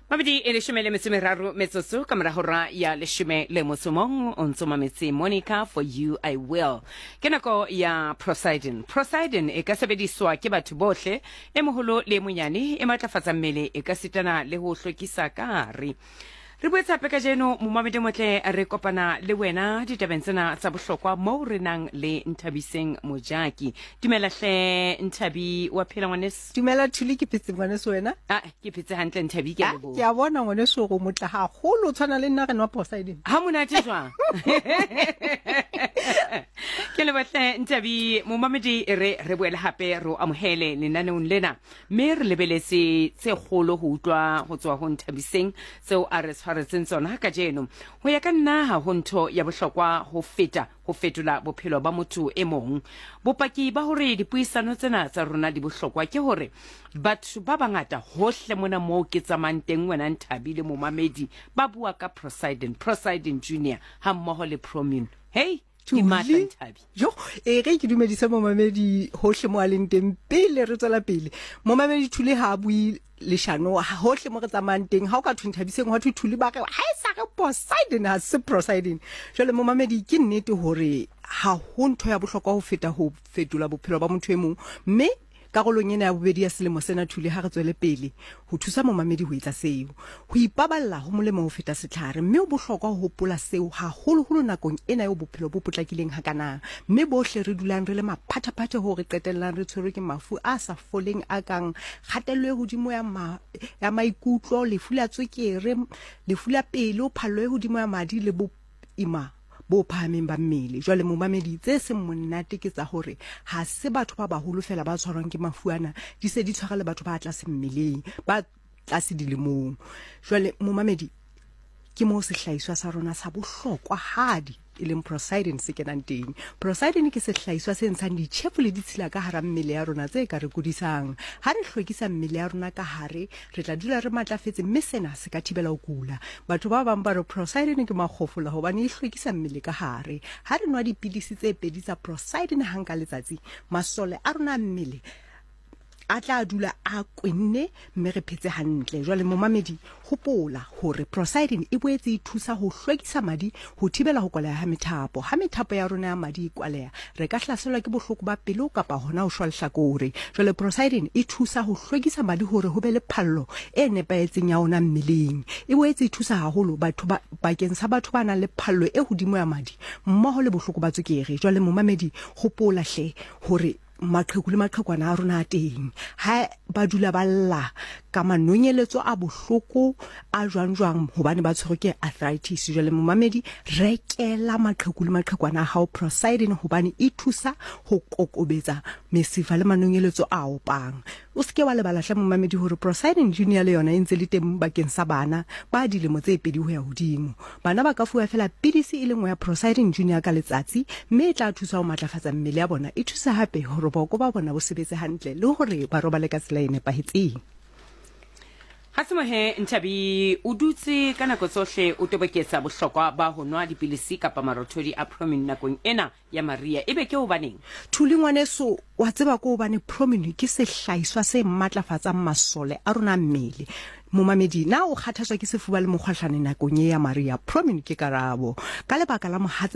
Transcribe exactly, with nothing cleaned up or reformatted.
Mabedi e leshome le metso e meraro metsotso ka mora hora ya leshome le motso mong. O ntso mametse Monica, For You I Will. Ke nako ya Prosidin. Prosidin e ka sebediswa ke batho bohle, e moholo le e monyane, e matlafatsa mmele, e ka sitana le ho hlwekisa ka hare. Re boetse hape kajeno, momamedi motle, re kopana le wena ditabeng tsena tsa bohlokwa moo re nang le Nthabiseng Mojaki. Dumela hle Nthabi, wa phela ngwaneso? Dumela Thuli, ke phetse ngwaneso, wena? Ah, ke phetse hantle Nthabi, ke a Ah, leboha. Ke a bona ngwaneso gore o motle haholo, o tshwana le nna, re nwa Prosidin. Ha monate jwang? Ke lebohle Nthabi. Momamedi, e re re boele hape re o amohele lenaneong lena, mme re lebeletse tse kgolo ho utlwa ho tswa ho Nthabiseng tseo a re tshwaretseng tsona kajeno. Ho ya ka nna, ha ho ntho ya bohlokwa ho feta ho fetola bophelo ba motho e mong. Bopaki ba hore dipuisano tsena tsa rona di bohlokwa ke hore batho ba bangata hohle mona moo ke tsamayang teng, wena Nthabi le momamedi, ba bua ka Prosidin, Prosidin Junior ha mmoho le Promune. Hey, di matla Thuli. Nthabi. Jo, e re ke dumedise momamedi hohle mo a leng teng pele re tswela pele. Momamedi, Thuli ha a bue leshano. Hohle mo re tsamayang teng, ha o ka thwe Nthabiseng, hwa thwe Thuli, ba re ha e sa re Prosidin, ha se Prosidin. Jwale momamedi, ke nnete hore ha ho ntho ya bohlokwa ho feta ho fetola bophelo ba motho e mong, mme karolong ena ya bobedi ya selemo sena, Thuli, ha re tswele pele ho thusa momamedi ho etsa seo. Ho ipaballa ho molemo ho feta setlhare, mme ho bohlokwa ho hopola seo, haholoholo nakong ena eo bophelo bo potlakileng hakanang, mme bohle re dulang re le maphathaphathe hoo re qetellang re tshwerwe ke mafu a sa foleng a kang kgatello e hodimo ya, ma, ya maikutlo, lefu la tswekere, lefu la pelo, phallo e hodimo ya madi le boima bo phahameng ba mmele. Jwale momamedi, tse seng monate ke tsa hore ha se batho ba baholo fela ba tshwarwang ke mafu ana, di se di tshwara le batho ba tlase mmeleng, ba tlase dilemong. Jwale momamedi, ke moo sehlahiswa sa rona sa bohlokwahadi e leng Prosidin se kenang teng. Prosidin ke sehlahiswa se ntshang ditjhefu le ditshila ka hara mmele ya rona tse ka re kudisang. Ha re hlwekisa mmele ya rona ka hare, re tla dula re matlafetse, mme sena se ka thibela ho kula. Batho ba bang ba re Prosidin ke makgofola hobane e hlwekisa mmele ka hare. Ha re nwa dipidisi tse pedi tsa Prosidin hang ka letsatsi, masole a rona a mmele a tla dula a kwenne mme re phetse hantle. Jwale momamedi, hopola hore Prosidin e boetse e thusa ho hlwekisa madi, ho thibela ho kwaleha ha methapo. Ha methapo ya rona ya madi e kwaleha, re ka hlaselwa ke bohloko ba pelo kapa hona ho shwa lehlakore. Jwale Prosidin e thusa ho hlwekisa madi hore ho be le phallo e nepahetseng ya ona mmeleng. E boetse e thusa haholo batho ba bakeng sa batho ba nang le phallo e hodimo ya madi mmoho le bohloko ba tswekere. Jwale momamedi, hopola hle hore maqheku le maqhekwana a rona a teng, ha ba dula ba lla ka manonyeletso a bohloko a jwang jwang hobane ba tshwerwe ke arthritis. Jwale momamedi, rekela maqheku le maqhekwana a hao Prosidin hobane e thusa ho kokobetsa mesifa le manonyeletso a opang. O seke wa lebala hle momamedi hore Prosidin Junior le yona e ntse le teng bakeng sa bana ba dilemo tse pedi ho ya hodimo. Bana ba ka fuwa fela pidisi e le nngwe ya Prosidin Junior ka letsatsi, mme e tla thusa ho matlafatsa mmele ya bona, e thusa hape hore boko ba bona bo sebetse hantle le hore ba robale ka tsela e nepahetseng. Ha semohe Nthabi, o dutse ka nako tsohle o toboketsa bohlokwa ba ho nwa dipilisi kapa marothodi a Promune nakong ena ya maria, ebe ke hobaneng? Thuli ngwaneso, wa tseba ko hobane Promune ke sehlahiswa se matlafatsang masole a rona a mmele. Momamedi, na o kgathatswa ke sefuba le mokgohlane nakong e ya maria? Promune ke karabo. Ka lebaka la mohatse